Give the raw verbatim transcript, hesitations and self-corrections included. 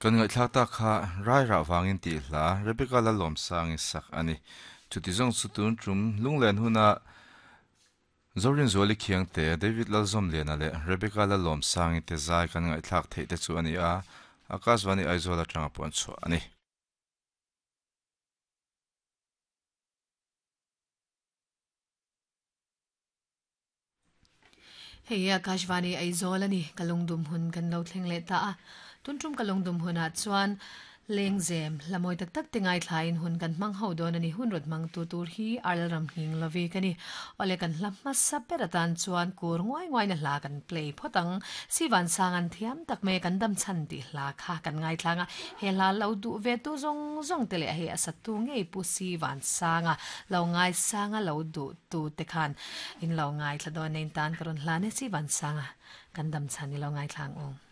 Kan ngai thlak ta kha rai ra wangin ti hla Rebecca la lom sang in sak ani chuti zong chu tun trum lunglen huna Zorin Zuali khiang te David Lalzom lena le Rebecca la lom sang te zai kan ngai thlak thei te chu ani a Akashvani Aizawl atanga pon chu ani. Hei Akashvani Aizawl ani kalungdum hun kan lo thleng le ta a tuntum kalungdum huna chuan lengzem lamoi tak tak tingai thlain hun kan mang ho don ani hun rot mang tu tur hi al ram hing lovi kani ole kan hlamma saperatan chuan kur ngoi ngoi na hla kan play photang siwan sangan thiam tak me kan dam chan ti hla kha kan ngai thlanga he hla lo du ve tu zong zong te le he asatu ngei pu siwan sanga lo ngai sanga lo du tu te khan in lo ngai thla don nein tan karon hla ne siwan sanga kan dam chan ni lo ngai thlang ong.